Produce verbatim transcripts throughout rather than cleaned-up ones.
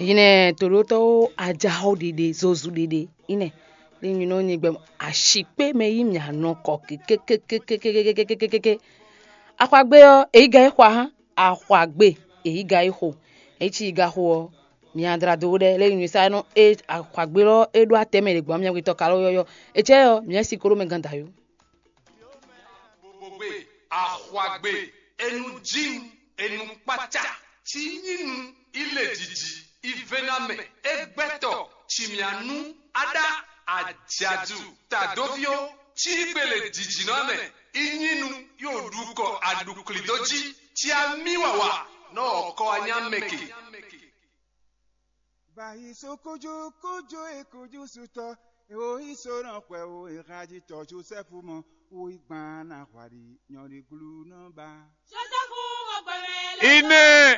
Nyinɛ toɖótɔ́wo ajaxɔ ɖiɖe zozu ɖiɖe ínɛ. Ní nyinɔ nyi gbɛ ashikpé mɛ yí mì anɔ kɔ kékékékékékékékékékékéké. Axwagbe ɔ́, èyí ga é xwa hán, axwagbe èyí ga é xo. Èyí cí yi ga xo ɔ́, mi adra dó ɖɛ lé nyinyi sa nɔ é axwagbe lɔ é ɖó atɛ mɛ ɖě gbɔn mɛ witɔ ka lɔ yɔyɔ. Ecɛ ɔ́, mi si kó ɖó mɛ gán dayó. Bogbe, axwagbe, enu jim, enu kpata, ci nyinu, ile jiji, ivenamɛ, egbɛtɔ, cimianu, ada, ajadu, tadoviwo, ci gbele jijinɔ mɛ, inyinu, yo ɖukɔ aɖuklidoji, ci ami wawa, nɔ ɔkɔ anyamɛke. Bayi so kojo kojo e kojo sutɔ, e wo yi so nɔ xwɛ wo e haji tɔ Josɛfu mɔ, wo yi gban na hwaɖi nyɔɖi glu nɔ ba. Josɛfu mɔ gbɛmɛ lɛ Ine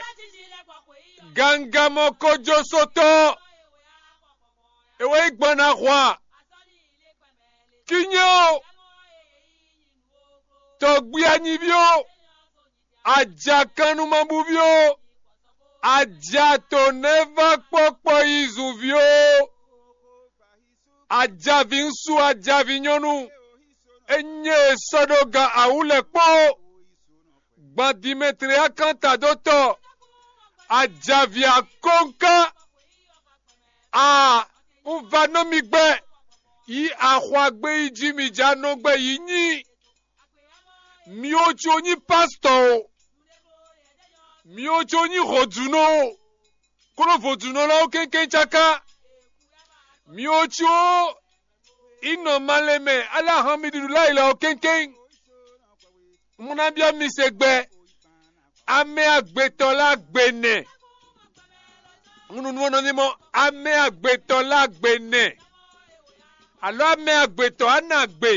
gangamɔ kojo sotɔ, e wo yi gban na hwa kinyɛ o, tɔgbi anyiví o, ajakannumabúví o, ajato nɛ́ vá kpɔ́kpɔ yi zunví o, ajavi ŋsu, ajavi nyɔ́nu, ényí è sɔ́ ɖó gan awǔ lɛ́ɛ kpó gban Dimetleyákantadótɔ́, ajavi akɔ́nká, a un va nɔ mi gbɛ yi axwagbe yi jí mi jɛ anɔgbɛ yi nyi. Mi wo co nyí pásítɔ o, mi wo co nyí hɔ̌dunɔ o, kónɔ vodunɔ lɛ́ɛ ó kɛ́nkɛ́n cáká. Mi wo co yi nɔ malɛ mɛ alá han mi ɖuɖu láyi lɛ́ɛ ó kɛ́nkɛ́n. Un ná byɔ́ mi se gbɛ, amɛ agbetɔ lɛ́ɛ agbe nɛ. Un nu nú ɔ́ nɔ ní mɔ amɛ agbetɔ lɛ́ɛ agbe nɛ. Alɔ amɛ agbetɔ á nɔ agbe,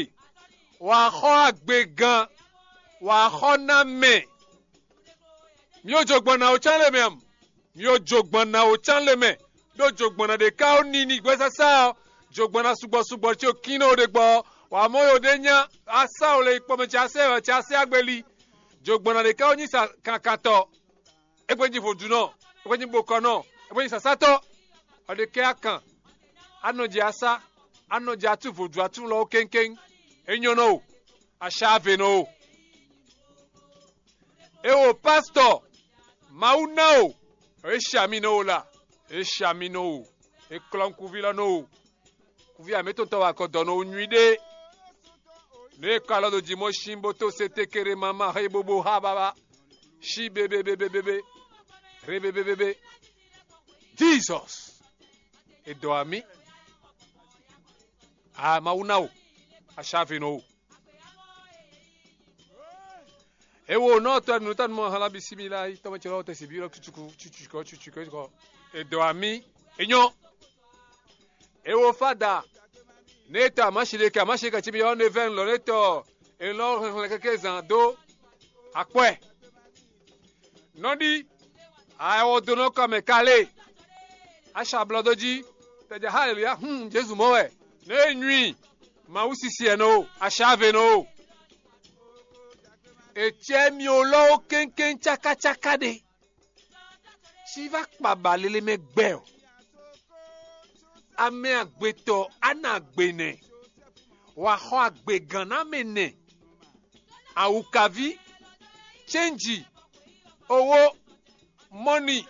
wǎ xɔ agbe gan, wǎ xɔ ná mɛ. Mi ó jo gbɔn ná ó cán lě mɛ ǎ. Mi ó jo gbɔn ná ó cán lě mɛ, ɖó jogbɔnna ɖě ká ó ní ní gbɛ́sásá ɔ́, jogbɔnna sugbɔ sugbɔ ce kín nɔ ɖe gbɔ ɔ́, wǎ mɔ yo ɖé nya asá o le kpɔmɛ ce asɛ wɛ ce asɛ agbeli. Jogbɔnna ɖě ká ó nyí sa kankantɔ, é gbé nyí vodúnɔ, é gbé nyí bokɔnɔ, é gbé nyí sasátɔ. Ɔ ɖe kɛ akan, anɔ jɛ asá, anɔ jɛ atú vodú atú lɔ ó kéŋkéŋ. É nyɔ́ nɔ o, aṣá ave nɔ o. É wo pásítɔ, Mawu ná o, é sha mì nɔ o la, é sha mì nɔ o, é klɔ́ nukúnví lɔ nɔ o. Kúví amǐtɔn tɔn wa kɔ dɔ nɔ o nyuiɖe. Nǔ e kɔ alɔ ɖo jǐ mɔ sín bó tó se tekere mama xé bobo xá baba. Sí bebebebebebe. Rebebebebe. Jesus. E dɔ amí. A Mawu ná o. Aṣáve nɔ o. E wo nɔ tɔ nu tanu mɔ hala bi si mi la yi tɔmɔ cɛ lɔ tɛ si bi lɔ tutuku tutuku tutuku. E dɔ amí. E nyɔ. E wo fada. Ne tɔ amashi ɖe ke amashi ka ci bi ɔ ne vɛ lɔ ne tɔ. E lɔ xlɛxlɛ keke zan do. Akwɛ. Nɔɖi. Awɔdonɔ kɔmɛ kale. Aṣa blɔdó jí. Tɛjɛ haleluya hun Jezu mɔ wɛ. Ne e nyui. Mawu sisi ɛnɛ o, aṣa ave nɔ o. Ecɛ mi o lɔ ó kéŋkéŋ cákácáká ɖe. Cí vá kpa ba lele mɛ gbɛ ɔ. Amɛ agbetɔ ana agbe nɛ. Wǎ xɔ agbe gǎn ná mɛ nɛ. Awukaví, cɛ́nji, owó, mɔni,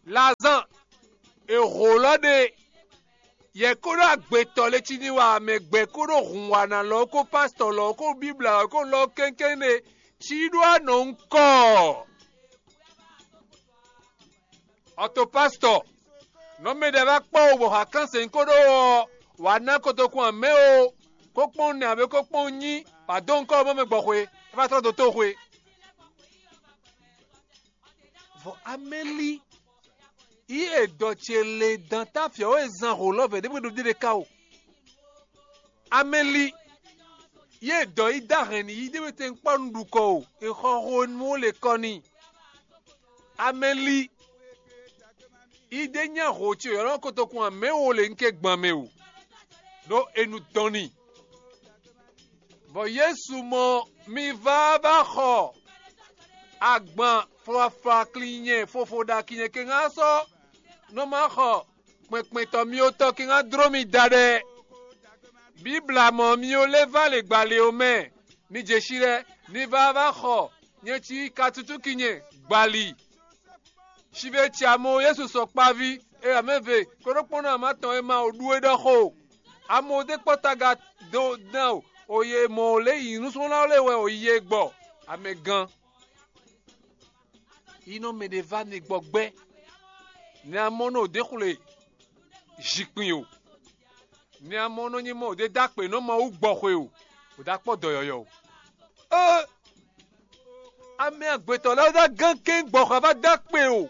lazán, è hǒ lɔ ɖe. Yɛ kó ɖó agbetɔ lé cí ní wa mɛ gbɛ kó ɖó hun wa ná lɔ kó pásítɔ lɔ kó bíbla lɔ kó lɔ kɛ́nkɛ́n ɖe cí ɖó anɔ ŋkɔ. Ɔto pásítɔ, nɔ mɛ ɖe va kpɔ wo bɔ ha kán sɛn kó ɖó ɔ wǎ ná kotokun amɛ o, kó kpɔ́n nɛ abě kó kpɔ́n nyí wǎ dó ŋkɔ mɔ mɛ gbɔ xwe, é va tlɔ́ dó tó xwe. Vɔ amɛlí yí e dɔ ce le dan táfia ó e zan hǒ lɔ vɛ ɖěbǔ ɖo ɖe ká o. Amɛlí yí e dɔ yí dó ahɛn n'i yí ɖěbǔ tɛn kpɔ́ nú ɖukɔ o, e xɔ xo nú ó le kɔ n'i. Amɛlí yí ɖé nya hǒ ce yɔ̌lɔ́ kotokun amɛ wo le nké gban mɛ o, ɖó e nu dɔn n'i. Vɔ Yesu mɔ mi vá vá xɔ agban flafla klinyɛ fofo ɖo akinnyɛ kɛnxá sɔ́ nɔ ma xɔ kpɛnkpɛntɔ́ mì otɔ́ kíngan dló mi da ɖɛ. Bíbla mɔ̌ mì ó lɛ́ vá lě gbǎlé ɔ́ mɛ, ní jɛ xí lɛ́ɛ, ní vá vá xɔ nyɛ cí ka tutú ki nyɛ gbali. Sive ce amɔ Yesu sɔ kpaví, e amɛve kóɖókpɔ́nɔ ama tɔn e ma o ɖu é ɖɔ xo. Amɔ dé kpɔ́ taga dó dán o, o ye mɔ o lě yi nǔsúnnú lɛ́ɛ wɛ o yi e gbɔ. Amɛgán. Yi nɔ mɛ ɖé vá ne gbɔ gbɛ́. Nɛ amɔ nɔ ɖě xwle zinkpin o. Nɛ amɔ nɔ nyi mɔ ɖě dó akpě nɔ Mawu gbɔ xwe o, o dó akpɔ́ dɔ yɔ̌yɔ́ o. Ée amɛ agbětɔ́ lɛ́ɛ dó gán kɛ́n gbɔ xɔ vá dó akpě o.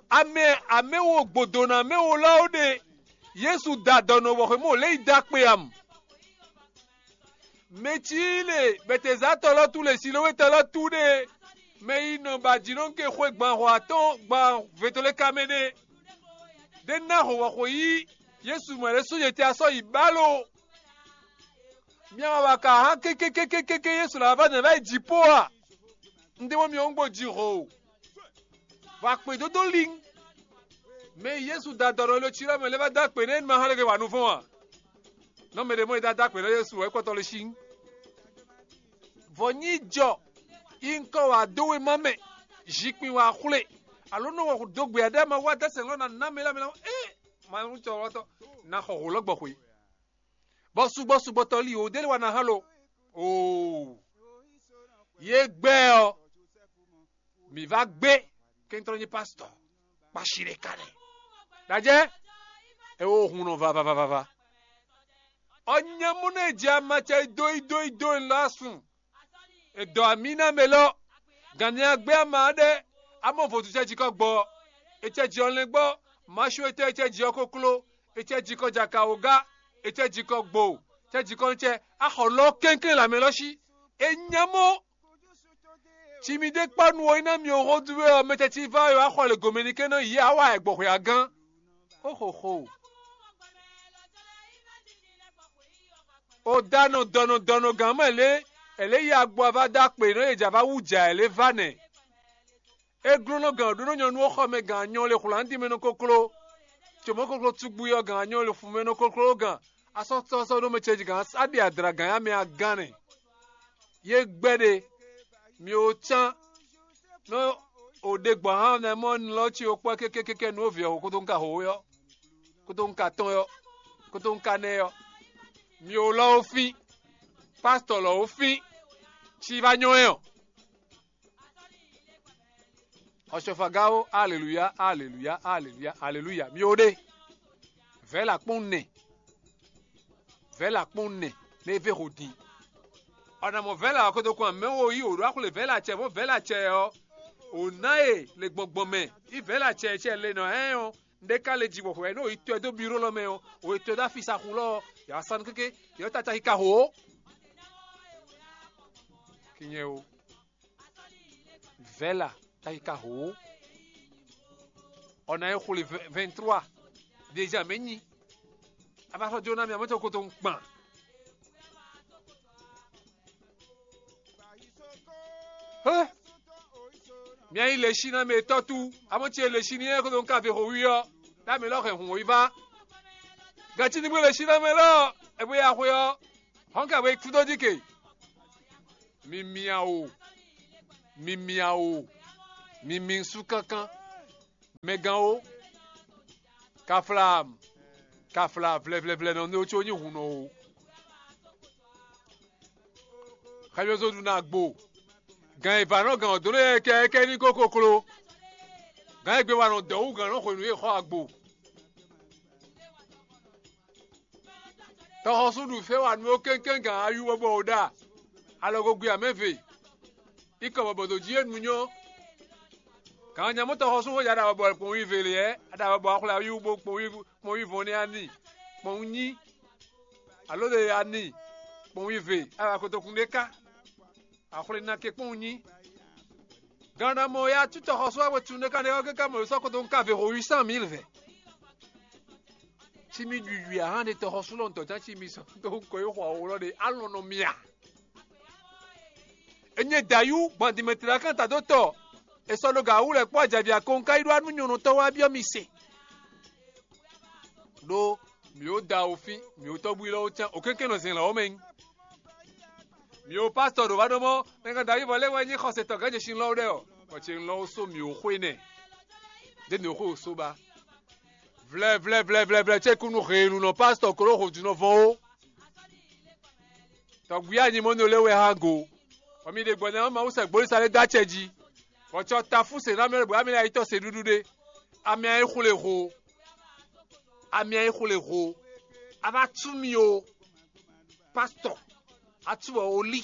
Amɛ amɛ wo gbodona amɛ wo lɔ wo ɖe. Yesu da dɔ nɔ wɔ xwe mɔ lě yi dó akpě am. Mɛ cí le Bɛtezatɔ́ lɔ tú le Silowetɔ́ lɔ tú ɖe. Mɛ yi nɔ ba jǐnɔ́nke xwe gban hɔ atɔ́ɔ́n gban vetoleka mɛ ɖe. Ɖé ná hɔn wɔxo yí Yesu mɔ ɖé sú yě tɛ asɔ́ yi bálo. Mia wa ka hán kékékékéké Yesu la vá nɛ vá yi jǐ po a? Un ɖe mɔ mi ɔ́ un gbo ji hɔn o. Vɔ akpědódó lin. Mɛ e Yesu da dɔ̌ ɖɔ lo cí lɛ́ɛ mɛ lɛ́ɛ vá dó akpě nɛ́ é ma hɛn lɛ́ wa nuvɔ́n a? Nɔ mɛ ɖě mɔ e dó akpě nɛ́ Yesu wɛ é kpɔtɔ le sín. Vɔ nyí jɔ yi ŋkɔ wǎ dó wéma mɛ, zinkpin wǎ xwlé, alo nɔ wɔ dó gbe aɖé ma wá dó sɛn lɔ ná ná mɛ lɛ́ɛ mɛ lɛ́ɛ ée ma nú cɔ wɔtɔ ná xɔ hǒ lɔ gbɔ xwe. Bɔ sugbɔ sugbɔtɔ li wǒ dé wa ná hán lo. Oo. Yě gbɛ ɔ́, mǐ vá gbé kɛntɔ́ nyí pásítɔ kpashi ɖé ka nɛ́. Ɖajɛ, é wo hun nɔ vavavava. Ɔ́ nyɛ mú nɔ e jɛ ama cɛ yi dó yi dó yi dó e lɔ asun. È dɔ amǐ ná mɛ lɔ, gǎn ní agbé ama ɖé, amɔ vodúnṣɛ́ jí kɔ gbɔ, è cɛ jí ɔ́ lɛ́n gbɔ, maṣu etɔ́ è cɛ jí ɔ́ kokló, è cɛ jí kɔ jaka wǒgá, è cɛ jí kɔ gbo, cɛ jí kɔ nú cɛ, axɔ lɔ kɛnklɛ́n lǎmɛ lɔ sí. È nya mɔ ci mi ɖé kpɔ́ nu ɔ́, é ná mi ɔ́ hɔ́n dú wɛ ɔ́, mɛ tɛ́ cí vá ɔ́, axɔ lě gomɛ ní kɛ́n nɔ yě á wa ɛ gbɔhwɛ a gán. Xóxóxó. O dánɔ dɔnɔ dɔnɔ gǎn mɛ lě, è lě yi agbo ava dó akpě nɔ e jǎ vá wú jǎ ɛ lě vá nɛ̌? É glónɔ gǎn ɖó nɔ nyɔ̌nu ɔ́ xɔ mɛ gǎn anyɔ le xwlǎndin mɛ nɔ kokló. Cǒmɔ́ kokló cúgbú ɔ́ gǎn anyɔ le fun mɛ nɔ kokló gǎn asɔ́sɔ́sɔ́ ɖó mɛ ce gǎn aɖi adra gǎn ya mɛ agán nɛ. Yé gbɛ́ ɖe, mi ó cán nɔ o ɖe gbɔn hán nɛ mɔ nlɔ ci o kpɔ kɛkɛkɛkɛ nú o vǐ ɔ́ kótó un ka ho ɔ́, kótó un ka tɔn ɔ́, kótó un ka nɛ ɔ́. Mi ó lɔ ó fín, pásítɔ lɔ ó fín, ci va nyɔ́ ɛ ɔ́. Xɔsɔfaga ó, aleluya, aleluya, aleluya, aleluya. Mi ó ɖe. Vɛ̌la kpɔ́n nɛ. Vɛ̌la kpɔ́n nɛ, nɛ é vé ho din. Ɔnamɔ vɛ̌la ɔ́ kótó kɔn mɛ wo yí wǒ ɖó axwle vɛ̌la cɛ mɔ̌ vɛ̌la cɛ ɔ́, wǒ ná e le gbɔngbɔn mɛ, yí vɛ̌la cɛ cɛ le nɔ hɛn ɔ́, ɖé ka le ji bɔ hwɛ nú yi tɔɛ dó biro lɔ mɛ ɔ́, wǒ yi tɔɛ dó afisaxu lɔ ɔ́, yǎ sanu kéké, yǎ tata yi ka ho ó. Kinyɛ o. Vɛ̌la, taki ka ho ó. Ɔ́ ná yi xwle vɛ̌ntrua. Déjà mɛ nyi. A va sɔ́ jó ná mi amɔ̌ tɔn ko to kpan. Hé! Mia yi le sí ná mɛ tɔ́ tú. Amɔ̌ ce le sí ní é ko to ka ve xo wi ɔ́. Ná mi lɔ hɛn hǔn yi va. Gǎcí ní gbé le sí ná mɛ lɔ. Ɛ bó ya xwe ɔ́. Hɔn ka bó yi kú dó dí ke. Mi mia o, mi mia o, mi mi sú kánkán. Mɛgán o, kafla, kafla vlɛvlɛvlɛ nɔ ní ó có nyí hun nɔ o. Xɛmyɔ́zɔ́ ɖu ná gbo. Gǎn e vǎ nɔ gǎn ɔ́ dó lɛ́ɛ kɛ́kɛ́ ní kó koklo. Gǎn e gbé wa nɔ dɔ̌ wú gǎn nɔ xwenu e xɔ agbo. Tɔxɔsú ɖu fɛ́ wa nú ó kɛ́nkɛ́n gǎn ayú bɔ bɔ ò ɖa alɔgogwi amɛ́ve. Ikɔ bɔbɔ ɖo jí e nu nyɔ́. Gǎn nyamú tɔxɔsú xó ya ɖa bɔbɔ kpɔn wí ve lě ɛ, a ɖa bɔbɔ axwlɛ ayú bó kpɔn wí vɔn nɛ́ ani, kpɔn nyi, alo ɖe ani, kpɔn wí ve, a wa kotokun ɖé ká. Axwlé ná ké kpɔ́n nyi. Gannda mɔ ya tú tɔxɔsú ɔ́ wɛ tun ɖé ká ɖé ɔ́ ké ká mɔ sɔ́ kótó un ka ve ho huit cent mille vɛ. Cí mì ɖuɖui ahan ɖe tɔxɔsú lɔ ntɔ̌ tán cí mi sɔ́ tó un kɔ yi xɔ awǒ lɔ ɖe alɔn nɔ mia. Enye dayú gbɔn Dimetlakán ta dó tɔ. È sɔ́ ɖó gǎ wú lɛ̌ kpó ajǎví akɔn ka yi ɖó anú nyɔ̌nɔtɔ́ wá byɔ́ mi se. Ɖó mǐ ó da wofín, mǐ ó tɔ́gbú yi lɔ́ ó cán, òkénkén nɔ zɛn lɔ̌ mɛ nyí. Mǐ ó pásítɔ ɖo va ɖó mɔ́, mɛ kan Davíd vɔ lɛ́ wɛ nyí xɔsetɔ́ gǎn jɛ sin lɔ́ ɖɛ ɔ́, bɔ ce lɔ́ ó só mǐ ó xwé nɛ. Dě mǐ ó xwé ó só ba. Vlɛvlɛvlɛvlɛ ce kú nú heelunɔ pásítɔ kó ɖó hǒjúnɔ vɔn ó. Tɔgwí anyimɔ́nɔ lɛ́ wɛ hán go, bɔ mi ɖe gbɔn ná Mawu sɛ gbolísa lɛ́ dó acɛ jí, bɔ cɔ ta fú se ná mɛ bɔ ami lɛ́ ayitɔ se ɖúɖú ɖé. Ami ayé xwle ho, ami ayé xwle ho, a va tú mi o, pásítɔ, a tú wɔ olí,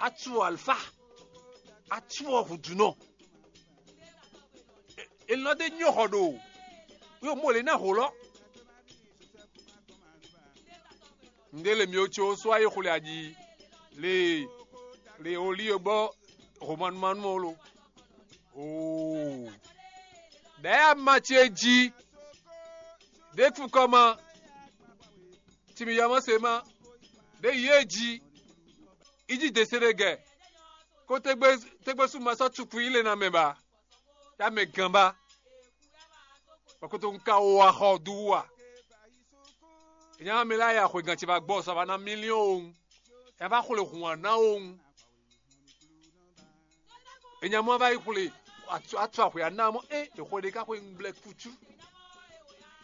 a tú wɔ alfa, a tú wɔ hǔdúnɔ. È nɔ ɖe nyɔ́ xɔ ɖo, yóò mɔ lě ná hǒ lɔ. Nde le mi o tso so ayi xwle aji le le oli e gbɔ homanumanu o lo. Oo. Ɖɛ̌ ama ce jí. Ɖě fukɔ ma. Timi yɔmɔ se ma. Ɖě yi e jí. Ijí dese ɖe gɛ. Ko tegbe tegbe su ma sɔ cuku yi le na mɛ ba. Ya mɛ gan ba. Bɔ kótó un ka wo axɔ dó wú a? È nya mɛ lɛ́ɛ ya xwegán ce va gbɔ sɔ va ná mílíɔ́n owun. È va xwle hǔn wá ná owun. È nya mɔ va yi xwle atu axwe aná mɔ é è xwe ɖé ká xwe ŋgblɛ kútú.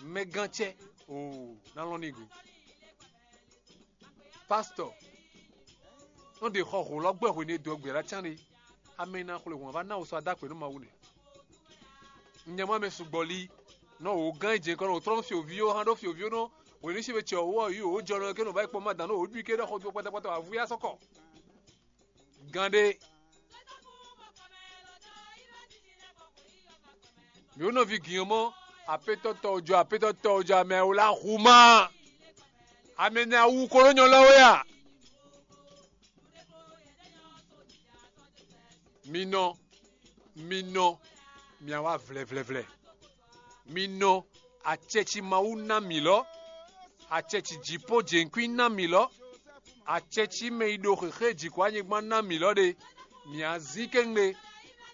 Mɛgán cɛ oo ná lɔn ní go. Pásítɔ, nɔ ɖe xɔ hǒ lɔ gbɛ hwenu e dó gbě lá cán ɖé. Ame e ná xwle hǔn ɔ́ vá ná wǔ sɔ́ adá akpě nú Mawu nɛ́. Un nya mɔ mɛ sugbɔ lí, nɔ wǒ gán e jɛ́n kɔ nɔ wǒ tlɔ́ nú fyǒví ó hán ɖó fyǒví ó nɔ hwenu sín we cɛ wǒ ɔ́ yí wǒ jɔ nɔ kɛ́ nɔ vá yi kpɔ́n má dǎn nɔ wǒ ɖu i kɛ́ ɖɔ xɔ dó kpɔ́tɔ́kpɔ́tɔ́ avú yá sɔ́ kɔ. Gán ɖé. Mǐ nɔví gǐn ɔ́ mɔ, apétɔ́ tɔ́ jɔ apétɔ́ tɔ́ jɔ amɛ wlá hu má. Amɛ nɛ awu ko ɖó nyɔ lɔ wɛ a? Mi nɔ, mi nɔ, mia wá vlɛvlɛvlɛ. Mi nɔ, acɛ ci Mawu ná mǐ lɔ, acɛ ci jǐ kpó jěnkwín ná mǐ lɔ, acɛ ci mɛ e ɖo xexé jǐ kpó anyigba ná mǐ lɔ ɖe, mǐ á zín kɛ́ngbé.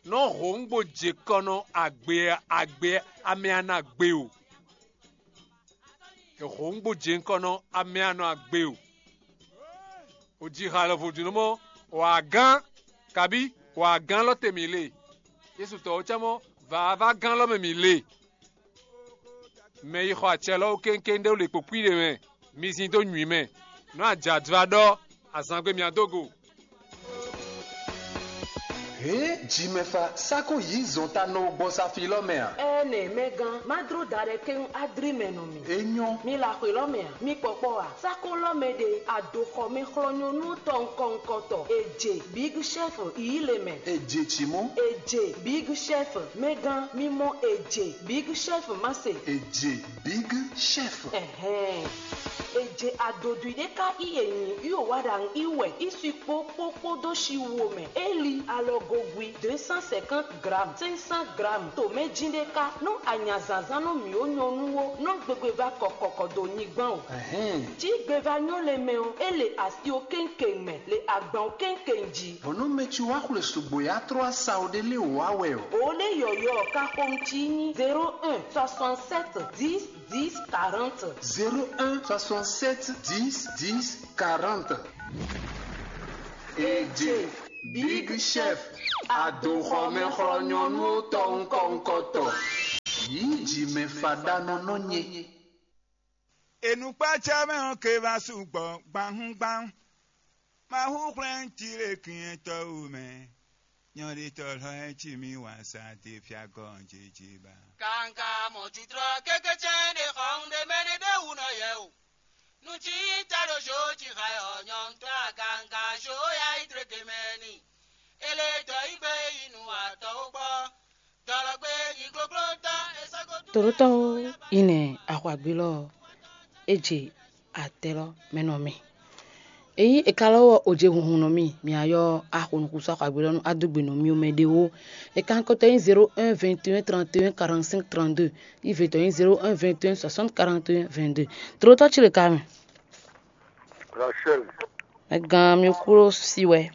Nɔ́ hǒngbo jě kɔ nɔ agbe agbe amɛ a nɔ agbe o. È hǒngbo jě kɔ nɔ amɛ a nɔ agbe o. Ò ji xa lɔvo jǐnɔ mɔ, wǎ gán, kabí wǎ gán lɔ te mǐ le. Yésu tɔ ɔ́ cá mɔ, vǎvá gán lɔ mɛ mǐ le. Mɛ yi xɔ acɛ lɔ wú kéŋkéŋ ɖé wú le kpokpíɖe mɛ, mi zin dó nywǐ mɛ. Nɔ́ ajǎdvá ɖɔ, azǎngbe mǐ á dó go. Hě jimɛfa sá kó yǐ zɔn ta nɔ gbɔ safí lɔ mɛ a? Ɛnɛ mɛgán, má dló da ɖɛ kɛ́n adrí mɛ nɔ mì. É nyɔ́. Mi la xwé lɔ mɛ a? Mi kpɔkpɔ a? Sákó lɔ mɛ ɖe adoxɔmɛ xlɔ́nyɔ́nú tɔnkɔnkɔtɔ. Èjè Big Chef yí le mɛ. Èjè tì mɔ. Èjè Big Chef mɛgán, mi mɔ èjè Big Chef má se. Èjè Big Chef. Ɛhɛn. Èjè adodwi ɖé ká í è nyi í ò wá ɖa í wɛ í si kpó kpó kpódó si wo mɛ. É li alɔgogwi deux cent cinquante grammes, cinq cent grammes. Tǒmɛjí ɖé ká nú anyazǎnzán nɔ mǐ ó nyɔ́ nú ó nɔ gbégbé va kɔkɔkɔ dó nyigban o. Ɛhɛn. Cí gbeva nyɔ́ le mɛ ɔ́, é le asi ó kéŋkéŋ mɛ, le agban ó kéŋkéŋ jí. Bɔ̌ nú mɛ ci wá xwle sugbo yá tró asawo ɖé lé wǎ wɛ ɔ́. Bǒ ɖé yɔ̌yɔ́ ká xomɛ cí nyí zéro un soixante-sept dix dix quarante. Zéro un soixante-sept dix dix quarante. Èjè Big Chef, adoxɔmɛ xlɔ́nyɔ́nú tɔnkɔnkɔtɔ. Yǐ jǐmɛ faɖanɔ nɔ nyɛ. Enukpácá mɛ ɔ́ ke va su gbɔ gbahungban. Mawu hwlɛ́n cí lě kyɛ́ntɔ́ wú mɛ. Nyɔ̌ɖitɔ́ lɔ́ ɛ cí mì wǎn sa te fia gɔ́n jějé ba. Kanga mɔ judrɔ kékécɛ́n ɖe xɔ un ɖe mɛ ɖé ɖé wú nɔ yɛ o. Nu cí ta ɖo zhǒ jí xa ɔ́ nyɔ̌ntɔ́ aganga zhǒ ya yi drége mɛ ni. Ele dɔ yi gbe yi nu atɔ́ ó gbɔ. Dɔlɔgbe yi gloglo tɔ́ e sɔ́ gɔ́. Tòɖótɔ́ ɔ́ yi nɛ axɔagbélɔ ɔ́, é je atɛ lɔ mɛ nɔ mì. Èyí è ka lɔ wɔ òjé hunhun nɔ mì, mǐ á yɔ axɔnukúnso axɔagbélɔ nú adógbe nɔ mì omɛ ɖé ó. È ka kɔtɔ nyí zéro un vingt et un trente et un quarante-cinq trente-deux, yi vě tɔn nyí zéro un vingt et un soixante quarante et un vingt-deux. Tòɖótɔ́ ci le ka mɛ. Rachel. Mɛ gán mi kúrò sí wɛ.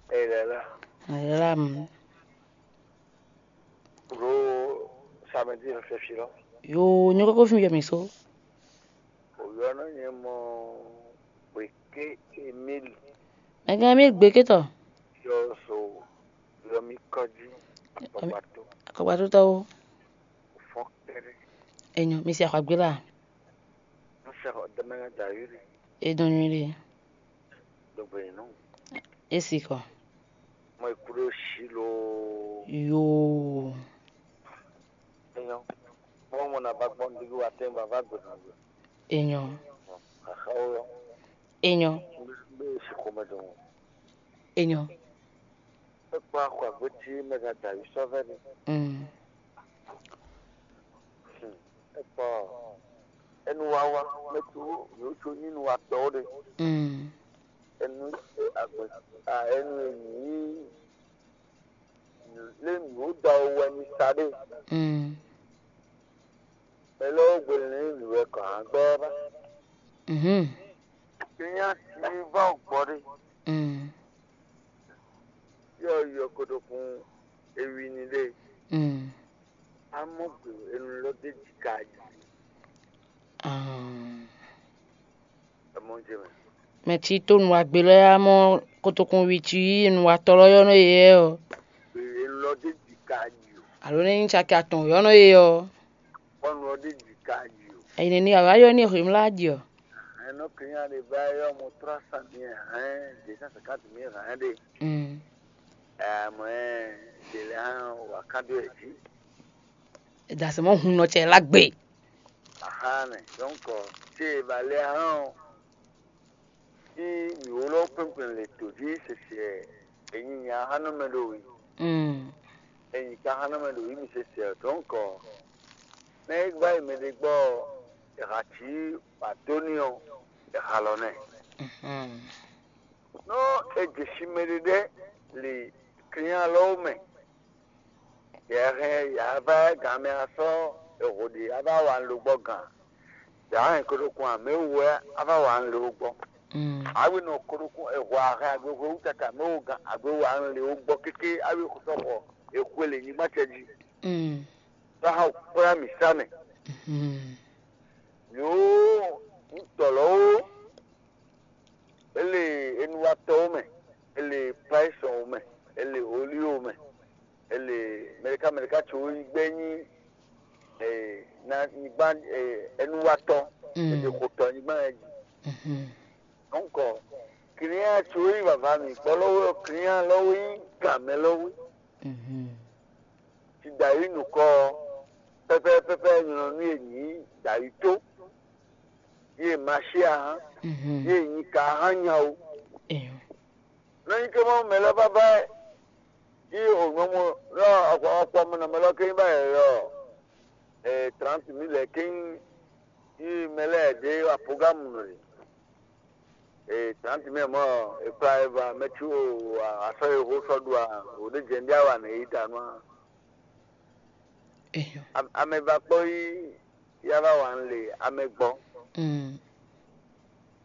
Ẹ lɛ la. Ẹ lɛ la mú. Mɛ ɖi nɔ fɛ́fí lɔ. Yo, nyɔ́ kókó fí mi jɛ mǐ só. Òyɔ nɔ nyɛ mɔ Gbèké Emíli. Mɛ gán mi gbé kétɔ. Yɔ so yɔ mi kɔjí. Akɔgbato. Akɔgbato tɔwo. Fɔn kɛrɛ. Enyo, mi si axɔ gbé la. N sɛ xɔ dɛmɛ na dayiri. E dɔn nyuɖe. Dogbe nɔ. E si kɔ. Mɔ ikú ɖo sí lo. Yoo. Enyɔ. Mɔ mɔ na ba gbɔn digi wa tɛn ba va gbɛ na gbɛ. Enyɔ. Axa wo yɔ. Enyɔ. Be si xɔmɛ dɔn. Enyɔ. Ekpɔ axɔ agbeti mɛ ga da yi sɔ vɛ ni. Mm. Ekpɔ enu wawa mɛ tu yo tso nyinu wa tɔ de. Mm. Enu agbe a enu enyi lé nǔ da wɛ ni sa ɖe. Mm. Mɛ lɛ́ɛ wó gbe lɛ́ nǔ wɛ kɔ hǎn gbɛ́ ba. Mhm. Kenya si va gbɔ ɖe. Mm. Yɔ yɔ koɖo kun ewi ni ɖe. Mm. Amɔ gbe enu lɔ de ji ka yi. Ah. Ɛmɔ jɛ mɛ. Mɛ ci to nǔwagbe lɔ ya mɔ kotokun wi ci yí nǔwatɔ́ lɔ yɔ nɔ yɛ ɔ. Enu lɔ de ji ka yi o. Alo ne nyí caki atɔn yɔ nɔ yɛ ɔ. Kɔnu lɔ de ji ka yi o. Ayi ne ni awa yɔ ni hwemla ji ɔ. Ɛnɔ kenya de ba yɔ mo trois cent mille hein, deux cent cinquante mille hein de. Mm. Ɛmɔ ɛ de le hã wa kan do ɛ ji. Dasɛ mɔ hun nɔ cɛ la gbe. Ahan, donc, ce ba le hã. Tí mǐ wló kpɛ́nkpɛ́n le tǒ jí sɛsɛ, è nyi nya xá nɔ mɛ ɖo wǐ. Mm. È nyi ka xá nɔ mɛ ɖo wǐ mi sɛsɛ. Donc, nɛ é gbá yi mɛ ɖé gbɔ, è xa cí wǎ dó n'i ɔ́, è xa lɔ nɛ. Mhm. Nú è jɛ sin mɛ ɖé ɖɛ́ li klin alɔ mɛ, yɛ hɛn yǎ vá gǎn mɛ asɔ eho ɖe a vá wa un lo gbɔ gǎn. Yǎ hɛn ko ɖo kun amɛ wú wɛ a vá wa un le wó gbɔ. Mm. Awi nɔ ko ɖo kun eho ahɛn agbe hwe wú tata mɛ wú gǎn agbe wa un le wó gbɔ kéké awi xɔ sɔ xɔ exwe le nyigba cɛ jí. Mm. Sɔ hã kplá mǐ sá mɛ. Mm. Yo, un tɔ lɔ wó. Ele enuwatɔwo mɛ, ele paisɔnwo mɛ, ele oliwo mɛ, ele mɛɖeka mɛɖeka tso yi gbɛ nyi eh, na nyigba eh, enuwatɔ, mm, ele xotɔ nyigba yɛ dzi. Mhm. Donc, client tso yi vava mi gbɔ lɔwɔ client lɔwɔ yi gamɛ lɔwɔ. Mhm. Ti da yi nukɔ pɛpɛ pɛpɛ nyɔnɔnu ye nyi da yi to. Ye mashi ahan. Mhm. Ye nyi ka ahan nyawo. Eyo. Nɔ nyi ke mɔ mɛ lɔ baba ye o nɔmɔ lɔ akɔ akɔ mɛ nɔ mɛ lɔ ke ba ye lɔ eh trente mille ke yi mɛ lɛ de wa programme no le. Eh trente mille mɔ e kpla e va mɛ tsu o asɔ ye ho sɔ ɖu a o de jɛn dia wa ne yi ta nua. Eyo. Amɛ va kpɔ yi ya va wa le amɛ gbɔ. Mm.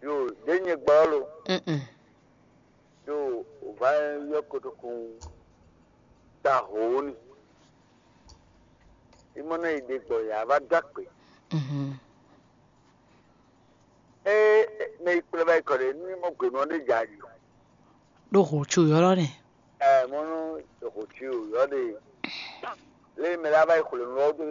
Yo, ɖe nyɛ gbɔ lo. Mm-mm. Yo, o va yɔ kotokun ta ho ni. Imɔ na yi ɖe gbɔ ya va da kpe. Mhm. E me yi kplɛ va yi kɔ ɖe ni mɔ gbe nɔ ɖe ja yi. Ɖo ho tso yɔlɔ ne. Ɛ mɔnu ho tso yɔ ɖe. Le me la va yi xwle nɔ ɖo